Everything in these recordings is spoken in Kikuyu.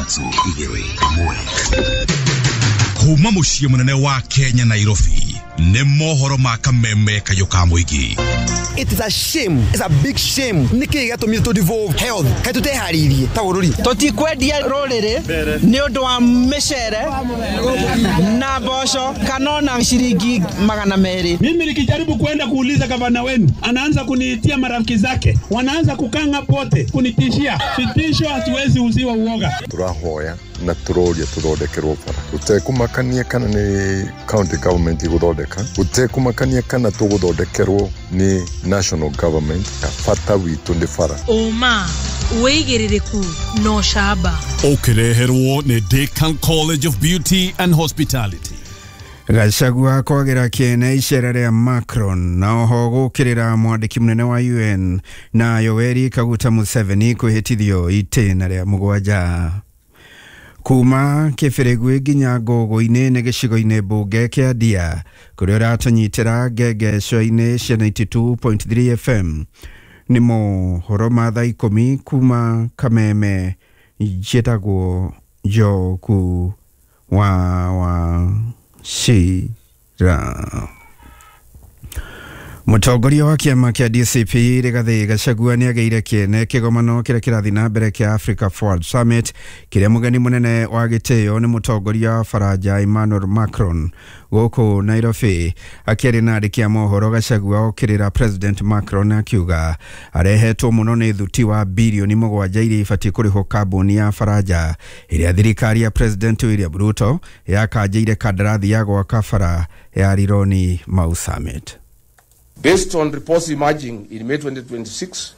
3 2 1. Kuma muciĩ mũnene wa Kenya Nairobi nĩ mohoro ma kameme kayũ ka mũingĩ. It is a shame. It's a big shame. Nĩkĩ gĩatũmire tũ devolve health? Kaĩ tũteharĩirie ta bũrũri? Tũtikwendia rũrĩrĩ nĩ ũndũ wa mĩcere na mboco kana ona ciringi 200. Mimi nikijaribu kwenda kuuliza gavana wenu, anaanza kuniitia marafiki zake, wanaanza kukanga pote kunitishia. Vitisho hatuwezi uziwa uoga. Turahoya na turoria tuthondekerwo bara gutekumakania kana ni county government iguthondeka, gutekumakania kana tuguthondekerwo ni national government. Bata witu ni bara. Uma wigiririku no shaba ukireherwo ni Decan College of Beauty and Hospitality. Gachagua kwagera kiene icera rĩa Macron na oho gũkĩrĩra mwandĩki mũnene wa UN na Yoweri Kaguta Museveni kwĩhĩtithio itĩna rĩa 7. Kuma kĩbĩrĩgwĩ nginya ngũgũ-inĩ nĩ gĩcigo-inĩ mbunge kĩa Ndia kũrĩa ũratũnyitĩra ngengeco-inĩ cia 92.3 FM. Nĩ mohoro ma thaa 10 kuma Kameme. Njĩtagwo Njoku wa Wachira. Mũtongoria wa kĩama kĩa DCP Rigathi Gachagua nĩagĩire kĩene kĩgomano kĩrĩa kĩrathiĩ na mbere kĩa Africa Forward Summit kĩrĩa mũgeni mũnene wa gĩtĩo nĩ mũtongoria wa Faranja Emmanuel Macron gũkũ Nairobi. Akĩaria na andĩki a mohoro, Gachagua okĩrĩra President Macron akiuga arehetwo mũno nĩ thuti wa birioni 7 iria ibatiĩ kũrĩhwo kambuni ya Faranja ĩrĩa thirikari ya President William Ruto yakanjĩire kandarathi ya gwaka bara ya Rironi Mau Summit. Based on reports emerging in May 2026,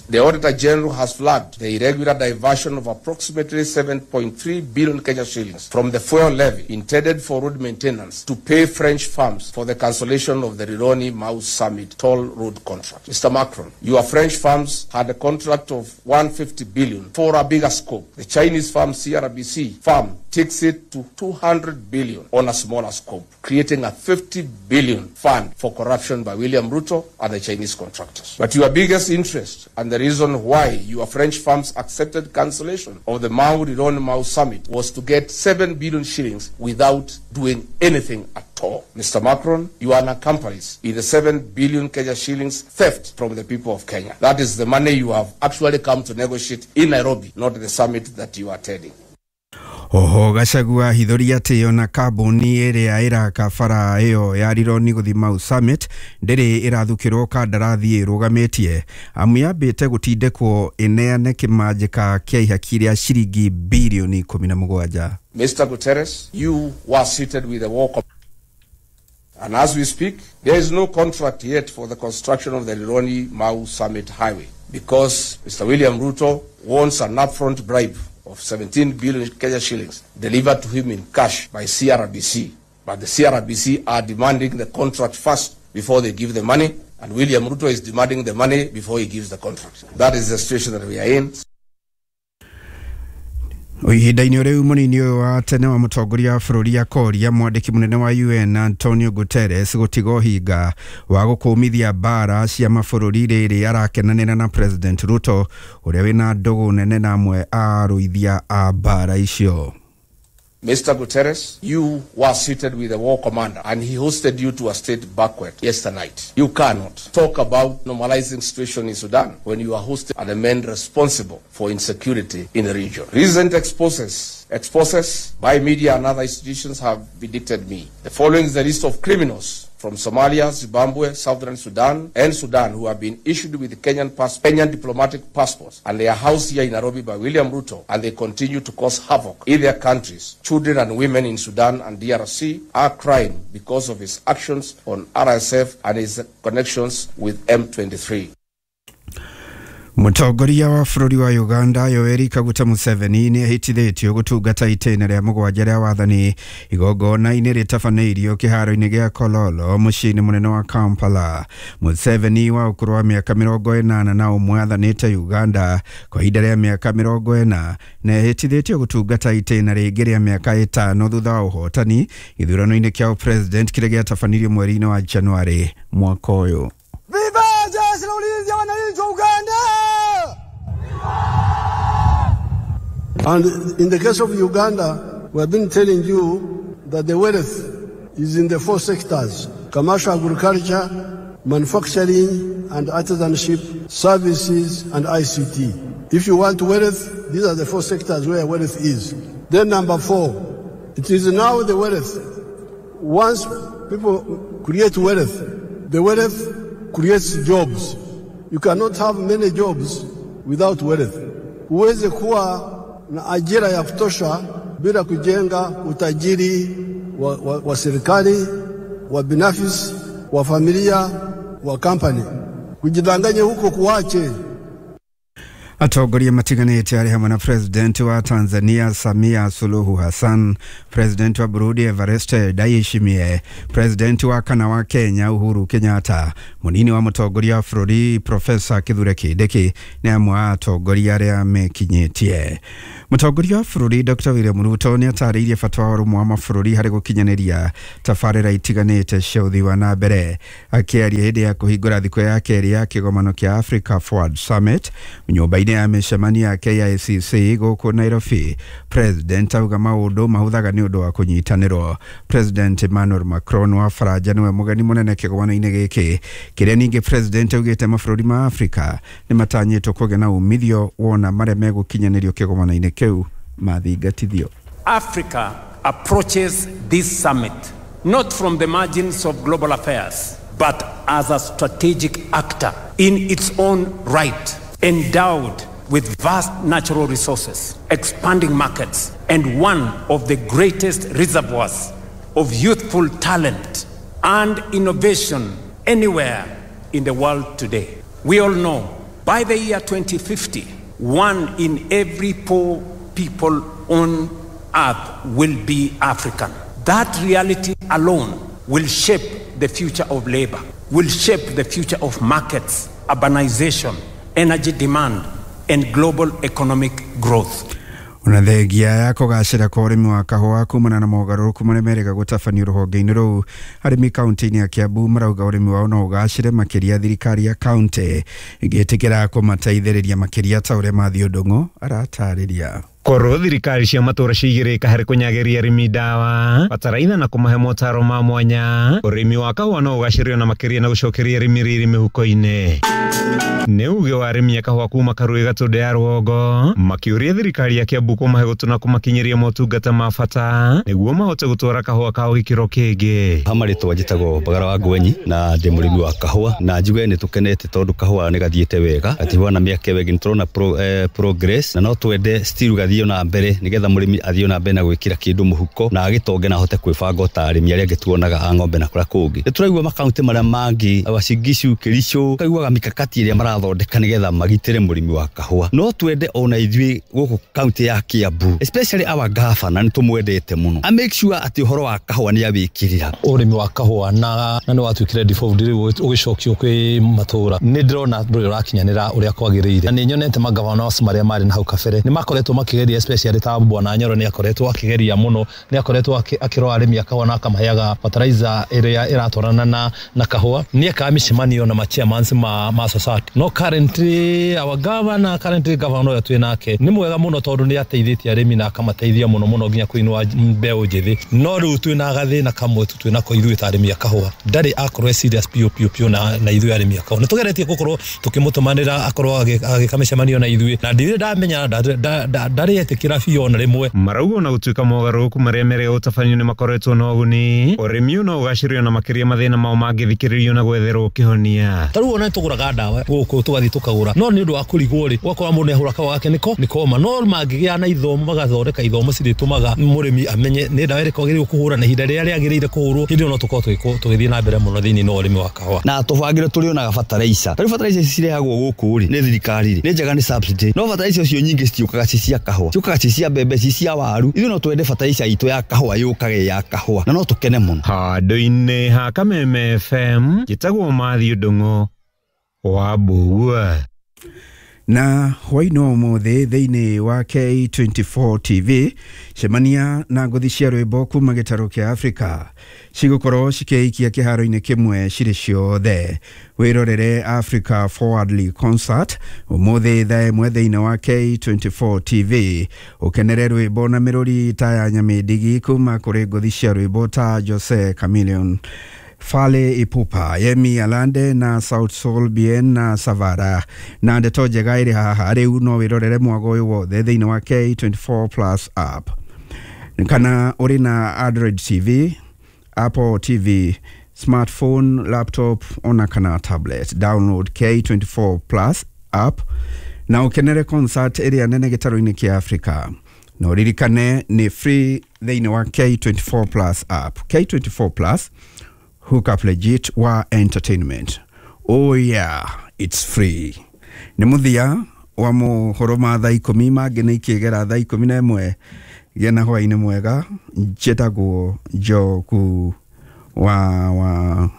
the Auditor General has flagged the irregular diversion of approximately 7.3 billion Kenya shillings from the fuel levy intended for road maintenance to pay French firms for the cancellation of the Rironi Mau Summit toll road contract. Mr. Macron, your French firms had a contract of 150 billion for a bigger scope. The Chinese firm CRBC firm takes it to 200 billion on a smaller scope, creating a 50 billion fund for corruption by William Ruto and the Chinese contractors. But your biggest interest and the reason why your French firms accepted cancellation of the Mau Rironi Mau Summit was to get 7 billion shillings without doing anything at all. Mr. Macron, you are an accomplice in the 7 billion Kenya shillings theft from the people of Kenya. That is the money you have actually come to negotiate in Nairobi, not the summit that you are attending. Oho Gachagua hithoria atĩ ona kambuni ĩrĩa ĩraka bara ĩyo ya Rironi gũthiĩ Mau Summit ndĩrĩ ĩrathukĩrwo kandarathi ĩrũgamĩtie amu yambĩte gũtindĩkwo ĩneane kĩmanjĩka kĩa ihaki rĩa ciringi birioni 17. Mr. Guterres, you were seated with the war. And as we speak, there is no contract yet for the construction of the Rironi Mau Summit Highway because Mr. William Ruto wants an upfront bribe of 17 billion Kenya shillings delivered to him in cash by CRBC. But the CRBC are demanding the contract first before they give the money, and William Ruto is demanding the money before he gives the contract. That is the situation that we are in. Ihinda-inĩ rĩu mũnini ũyũ wa tene wa mũtongoria wa bũrũri akoria mwandĩki mũnene wa UN Antonio Guterres gũtiga ũhinga wa gũkũmithia mbara cia mabũrũri rĩrĩ arakenanĩra na President Ruto ũrĩa wĩna ndũgũ nene na amwe a arũithia a mbara icio. Mr. Guterres, you were seated with the war commander and he hosted you to a state banquet yesterday night. You cannot talk about normalizing situation in Sudan when you are hosted and the men responsible for insecurity in the region. Recent exposes by media and other institutions have vindicated me. The following is a list of criminals from Somalia, Zimbabwe, Southern Sudan, and Sudan who have been issued with Kenyan diplomatic passports, and they are housed here in Nairobi by William Ruto, and they continue to cause havoc in their countries. Children and women in Sudan and DRC are crying because of his actions on RSF and his connections with M23. Mũtongoria wa bũrũri wa Uganda Yoweri Kaguta Museveni nĩ ahĩtithĩtio gũtungata itĩna rĩa 7 rĩa wathani igongona-inĩ rĩtabanĩirio kĩharo-inĩ gĩa Kololo mũciĩ-inĩ mũnene wa Kampala. Museveni wa ũkũrũ wa mĩaka 81 athanĩte Uganda kwa ihinda rĩa mĩaka 40 na ahĩtithĩtio gũtungata itĩna rĩngĩ rĩa mĩaka 5 thutha wa ũhotani gĩthurano-inĩ kĩa president kĩrĩa gĩatabanirio mweri-inĩ wa Januarĩ mwaka ũyũ. Viva jeshi la ulinzi wa wananchi wa Uganda! And in the case of Uganda, we have been telling you that the wealth is in the four sectors: commercial agriculture, manufacturing and artisanship, services and ICT. If you want wealth, these are the four sectors where wealth is. Then number four, it is now the wealth. Once people create wealth, the wealth creates jobs. You cannot have many jobs without wealth. Huwezi kuwa na ajira ya kutosha bila kujenga utajiri wa serikali, wa binafsi, wa familia, wa company. Kujidanganya huko kuache. Atongoria matiganĩte arĩ hamwe na President wa Tanzania Samia Suluhu Hassan, President wa Burundi Evariste Ndayishimiye, President wa kana wa Kenya Uhuru Kenyatta, munini wa mũtongoria wa bũrũri Professor Kithure Kindiki nĩ amwe a atongoria arĩa mekinyĩtie. Mũtongoria wa bũrũri Dr. William Ruto nĩ atarĩirie bata wa ũrũmwe wa mabũrũri harĩ gũkinyanĩria tabarĩra itiganĩte cia ũthii wa na mbere. Akĩaria hĩndĩ ya kũhingũra thikũ ya kerĩ ya kĩgomano kĩa Africa Forward Summit nyũmba-inĩ ya mĩcemanio ya KICC gũkũ Nairobi, President auga maũndũ mahũthaga nĩ ũndũ wa kũnyitanĩrwo. President Emmanuel Macron wa Faranja nĩwe mũgeni mũnene kĩgomano-inĩ gĩkĩ, kĩrĩa ningĩ President augĩte mabũrũri ma Afrika nĩ matanyĩtwo kũgĩa na umithio wona marĩa megũkinyanĩrio kĩgomano-inĩ kĩu mathingatithio. Africa approaches this summit not from the margins of global affairs, but as a strategic actor in its own right, endowed with vast natural resources, expanding markets, and one of the greatest reservoirs of youthful talent and innovation anywhere in the world today. We all know by the year 2050, 1 in every 4 people on earth will be African. That reality alone will shape the future of labor, will shape the future of markets, urbanization, energy demand, and global economic growth. Ona thengia ya kũgacĩra kwa ũrĩmi wa kahũa kumana na mogarũrũku marĩa merĩga gũtabanio rũhonge-inĩ rũu, arĩmi kaunti-inĩ ya Kiambu marauga ũrĩmi wao no ũgacĩre makĩria thirikari ya kaunti ĩngĩtĩkĩra kũmateithĩrĩria makĩria ta ũrĩa Matthew Ndung'u aratarĩria. Korwo thirikari cia matũra ciigĩrĩka harĩ kũnyagĩria arĩmi ndawa bataraitha na kũmahe motaro ma mwanya, ũrĩmi wa kahũa no ũgacĩrio na makĩria na gũcokeria arĩmi riri mĩhuko-inĩ. Nĩ uge wa arĩmi a kahũa kuma Karũĩ Gatũndũ ya Rũgongo makĩũria thirikari ya Kiambu kũmahe gũtũ na kũmakinyĩria motungata ma bata nĩguo mahote gũtwara kahũa kao gĩkĩro kĩngĩ. Ha marĩtwa njĩtagwo Mbagara wa Ngwenyi na ndĩ mũrĩmi wa kahũa, na njuge nĩ tũkenete tondũ kahũa nĩ gathiĩte wega, gatihana mĩaka ĩyo ĩngĩ, nĩ tũrona progress na no twende still gathiĩ na mbere nĩgetha mũrĩmi athiĩ na mbere na gwĩkĩra kĩndũ mũhuko na agĩtonge na ahote kwĩbanga ta arĩmi arĩa angĩ tuonaga a ng'ombe na kũrĩa kũngĩ. Nĩ tũraigua makaunti marĩa mangĩ Uasin Gishu, Kericho, kaiguaga mikakati ĩrĩa marathondeka nĩgetha magitĩre mũrĩmi wa kahũa. No twende ona ithuĩ gũkũ kaunti ya Kiambu, especially our governor, nĩ tũmwendete mũno, a make sure atĩ ũhoro wa kahũa nĩ awĩkĩrĩra. Ũrĩmi wa kahũa na nĩ watuĩkire default rĩu ũgĩcokio kwĩ matũra, nĩ ndĩrona ndũrĩ ũrakinyanĩra ũrĩa kwagĩrĩire, na nĩ nyonete magavana marĩa marĩ na hau kabere nĩ makoretwo makĩgeria, especially ta Bwana Nyoro nĩ akoretwo akĩgeria mũno, nĩ akoretwo akĩrora arĩmi a kahũa na akamaheaga fertilizer ĩrĩa ĩratwarana na kahũa, nĩ ekaga mĩcemanio na ma-chairmans ma society. No currently our governor, currently governor ũrĩa twĩ nake nĩ mwega mũno tondũ nĩ ateithĩtie arĩmi na akamateithia mũno mũno nginya kũinũa mbeũ njĩthĩ. No rĩu twĩna gathĩna kamwe tu twĩnako ithuĩ ta arĩmi a kahũa, ndarĩ akorwo e serious piũ piũ piũ na ithuĩ arĩmi a kahũa. Nĩ tũgeretie gũkorwo tũkĩmũtũmanĩra akorwo agĩka mĩcemanio na ithuĩ, na ndirĩ ndamenya ndarĩ etĩkĩra biũ ona rĩmwe. Marauga ona gũtuĩka mogarũrũku marĩa merĩga gũtabanio nĩ makoretwo na ũguni, ũrĩmi ũyũ no ũgacĩrio na makĩria mathĩna mao mangĩthikĩrĩrio na gwetherwo kĩhonia. Ta rĩu ona nĩtũgũraga ndawa gũkũ tũgathiĩ tũkagũra, no nĩ ũndũ wa kũrigwo rĩ, ũgakora mũndũ nĩahũra kahũa gake nĩko nĩkoma. No mangĩgĩa na ithomo magathondeka ithomo cirĩtũmaga mũrĩmi amenye nĩ ndawa ĩrĩkũ agĩrĩirwo kũhũra na ihinda rĩrĩa rĩagĩrĩire kũhũrwo, hĩndĩ ĩyo no tũkorwo tũgĩthiĩ na mbere mũno thĩinĩ wa ũrĩmi wa kahũa. Na tũbangĩre tũrĩonaga bataraica, tarĩu bataraica ici cirehagwo gũkũ rĩ nĩ thirikari rĩ, nĩ njega nĩ subsidy, no bataraica icio nyingĩ citiũkaga ci cia kahũa, ciũkaga ci cia mbembe, ci cia waru. Ithuĩ no twende bataraica itũ ya kahũa yũkage ya kahũa na no tũkene mũno. Handũ-inĩ ha Kameme FM njĩtagwo Matthew Ndung'u wa Mbũgua. Na hwaĩ-inĩ wa ũmũthĩ thĩinĩ wa K24 TV, cemania na ngũthi cia rwĩmbo kuma gĩtarũ kĩa Afrika cigũkorwo cikĩikia kĩharo-inĩ kĩmwe cirĩ ciothe. Wĩrorere Africa Forwardly Concert ũmũthĩ thaa 1 thĩinĩ wa K24 TV, ũkenere rwĩmbo na mĩrũri ta ya Nyamĩndigi kuma kũrĩ ngũthi cia rwĩmbo ta Jose Chameleone, Fale Ipupa, Yemi Alande na South Soul Bien na Savara. Na ndeto njega ĩrĩ haha rĩu, no wĩrorere mwago ũyũ wothe thĩinĩ wa K24 Plus app, kana ũrĩ na Android TV, Apple TV, smartphone, laptop ona kana tablet. Download K24 Plus app na ũkenere concert ĩrĩa nene gĩtarũ-inĩ kĩa Afrika. Na ũririkane nĩ free thĩinĩ wa K24 Plus app. K24 Plus, hook up legit wa entertainment. Oh yeah, it's free. Nĩ mũthia wa mohoro ma thaa 10, mangĩ nĩ ikĩgera thaa 11. Gĩa na hwaĩ-inĩ mwega. Njĩtagwo Njogu wa Wachira.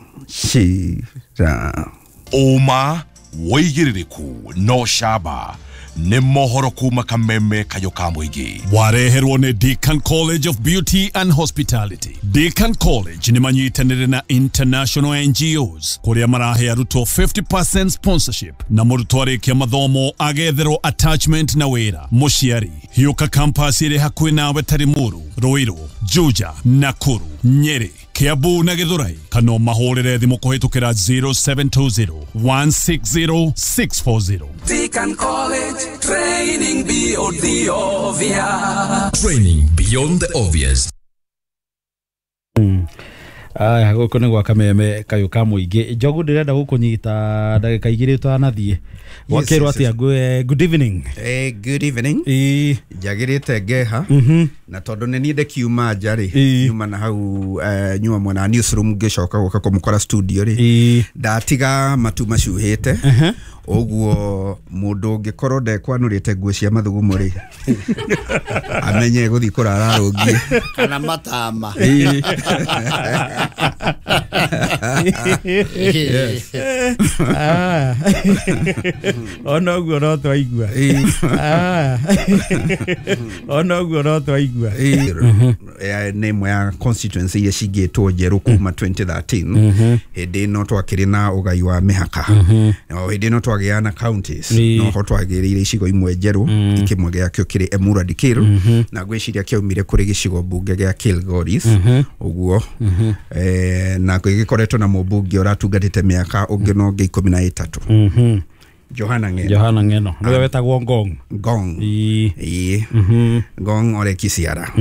Ũma, wĩigĩrĩrĩku no camba nĩ mohoro kuma kameme kayũ ka mũingĩ. Wareherwo nĩ Deacon College of Beauty and Hospitality. Deacon College nĩ manyitanĩre na international NGOs kũrĩa marahe arutwo 50% sponsorship, na mũrutwo arĩkia mathomo agetherwo attachment na wĩra. Mũciari, hiũka campus ĩrĩ hakuhĩ nawe ta Limuru, Ruiru, Juja, Nakuru, Nyeri, Kiambu na Githurai, kana ũmahũrĩre thimũ kũhĩtũkĩra 0720 160 640. Deacon College, training beyond the obvious. Training beyond the obvious. Aya, gũkũ nĩ gwa kameme kayũ ka mũingĩ. Njogu, ndĩrenda gũkũnyita ndagĩka 2 tũtanathiĩ. Gwakĩrwo atĩa? Good evening. Good evening. Njagĩrĩte ngeha, na tondũ nĩ niĩ ndĩkiuma nja rĩ, nyuma na hau, nyuma mwena newsroom, ngĩcoka gũka kũmũkora studio rĩ, ndatiga matu macuhĩte ũguo. Mũndũ ũngĩkorwo ndekwanũrĩte nguo cia mathugumo rĩ, amenye gũthiĩ kũrara rũngiĩ kana matama. Yes. Ah. Ona ũguo no twaigua. Ah. Ona ũguo no twaigua. Nĩ ĩmwe ya constituency iria cingĩtwo njerũ kuma 2013, hĩndĩ ĩno twakĩrĩ na ũgai wa mĩhaka. O hĩndĩ ĩno twagĩa na counties, noho twagĩrĩire icigo imwe njerũ, kĩmwe gĩakĩo kĩrĩ Emurua Dikirr, na ngwĩciria kĩaumire kũrĩ gĩcigo mbunge gĩa Kilgoris ũguo, na gĩkoretwo na mũmbunge ũratungatĩte mĩaka ũngĩ na ũngĩ 13, Johana Ng'eno. Johana Ng'eno nĩwe wetagwo Ngong. Ngong, ĩĩ, Ngong Ole Kisiara.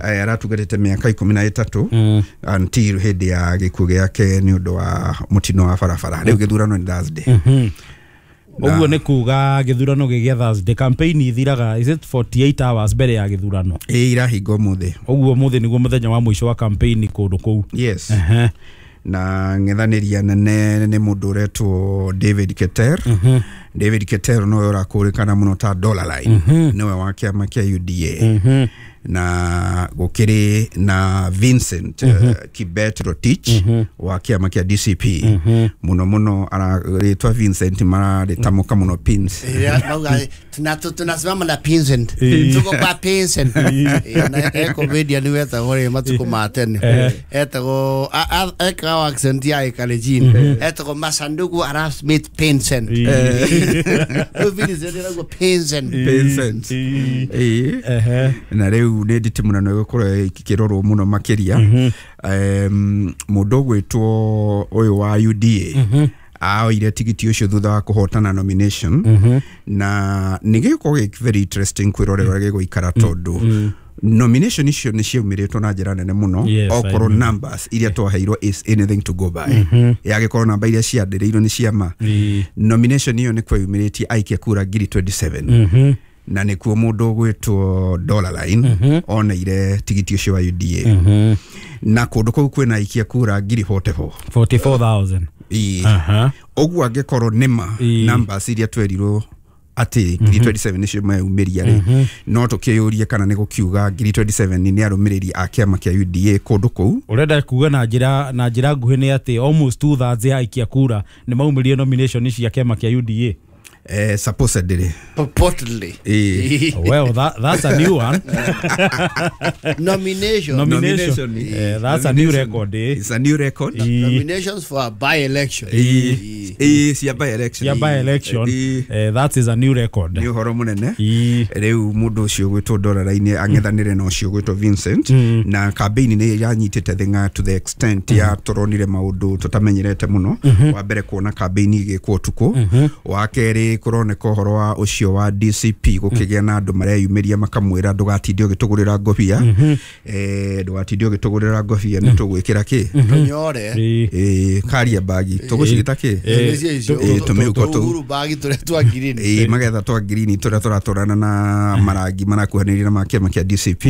Aratungatĩte mĩaka 13 until hĩndĩ ya gĩkuũ gĩake nĩ ũndũ wa mũtino wa barabara. Rĩu gĩthurano nĩ Thursday. Ũguo nĩ kuga gĩthurano gĩgĩa Thursday, campaign ithiraga, is it 48 hours mbere ya gĩthurano? Ĩĩ, irahinga ũmũthĩ. Ũguo ũmũthĩ nĩguo mũthenya wa mũico wa campaign kũndũ kũu. Yes. Na ng'ethanĩria nene nĩ mũndũ ũretwo David Keter. David Keter nowe ũrakũrĩkana mũno ta Dollar Line, nĩwe wa kĩama kĩa UDA, na gũkĩrĩ na Vincent Kibet Rotich wa kĩama kĩa DCP. Mũno mũno rĩtwa Vincent mararĩtamũka mũno Pins. Mauga tunasimama na Pinsent, tuko kwa Pinsent. Na eko media ni wetagwo rĩ matukũ ma tene, etagwo ekaga accent ya Kalenjin, etagwo Masanduku Arap Smith Pinsent. Rĩu Vincent ĩragwo Pinsent. Pinsent. Ĩĩ, na rĩu nĩ nditi mũno nĩ gũkorwo ikĩrorwo mũno makĩria. Mũndũ ũgwĩtwo ũyũ wa UDA aoire tigiti ũcio thutha wa kũhotana nomination, na nĩ gĩgũkorwo gĩ very interesting kwĩrorera ũrĩa gĩgũikara, tondũ nomination icio nĩ ciaumĩrĩtwo na njĩra nene mũno. Okorwo numbers iria twaheirwo is anything to go by, yagĩkorwo namba iria ciandĩrĩirwo nĩ ciama, nomination ĩyo nĩ kweyumĩrĩtie aikia kura ngiri 27, na nĩkuo mũndũ ũgwĩtwo Dollar Line oneire tigiti ũcio wa UDA, na kũndũ kũu kwĩna aikia kura ngiri 44. 44,000. Ĩĩ, ũguo angĩkorwo nĩma numbers iria twerirwo atĩ ngiri 27 nĩcio meyumĩria rĩ, no tũkĩyũrie kana nĩ gũkiuga ngiri 27 nĩ arũmĩrĩri a kĩama kĩa UDA kũndũ kũu. Ũrenda kuga na njĩra nguhĩ nĩ atĩ almost 2/3 ya aikia kura nĩ maumĩrie nomination cia kĩama kĩa UDA. Supposedly. Purportedly. Well, that's a new one. Nomination. That's a new record. It's a new record. Nominations for a by-election. Cia by-election. Yeah, by-election. That is a new record. Nĩ ũhoro mũnene. Rĩu mũndũ ũcio ũgwĩtwo Doraline ang'ethanĩre na ũcio ũgwĩtwo Vincent, na campaign nĩ yanyitĩte thing'a to the extent ya tũronire maũndũ tũtamenyerete mũno. Wa mbere kuona campaign igĩkwo ũtukũ, wa kerĩ kũroneka ũhoro wa ũcio wa DCP gũkĩgĩa na andũ mareyumĩria makamwĩra ndũgatinde ũgĩtũgũrĩra ngobia, ndũgatinde ũgĩtũgũrĩra ngobia nĩ tũgwĩkĩra kĩ tũnyore, karia bagi tũgũcigĩta kĩ tũmĩhuko tũu bagi tũrĩa twa green, magetha twa green tũrĩa tũratwarana na marangi marakuhanĩrĩria na ma kĩama kĩa DCP.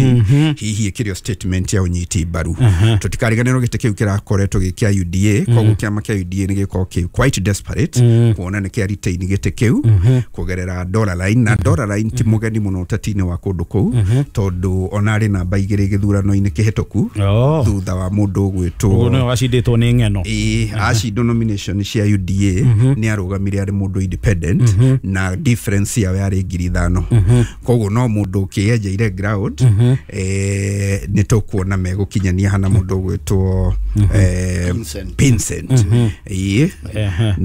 Hihi ĩkĩrĩ statement ya ũnyiti mbaru. Tũtikariganĩrwo gĩtĩ kĩu kĩrakoretwo gĩ kĩa UDA, koguo kĩama kĩa UDA nĩ gĩkorwo kĩ quite desperate kuona nĩ kĩa retain gĩtĩ kĩu kũgerera Doraline, na Doraline ti mũgeni mũno ũteti-inĩ wa kũndũ kũu, tondũ ona arĩ namba 2 gĩthurano-inĩ kĩhĩtũku thutha wa mũndũ ũgwĩtwo ũguo nĩwe wacindĩtwo nĩ ng'eno. Acindwo nomination cia UDA nĩ arũgamire arĩ mũndũ independent, na difference yao yarĩ 5,000. Koguo no mũndũ ũkĩenjeire ground, nĩ tũkuona megũkinyania hana mũndũ ũgwĩtwo Pincent.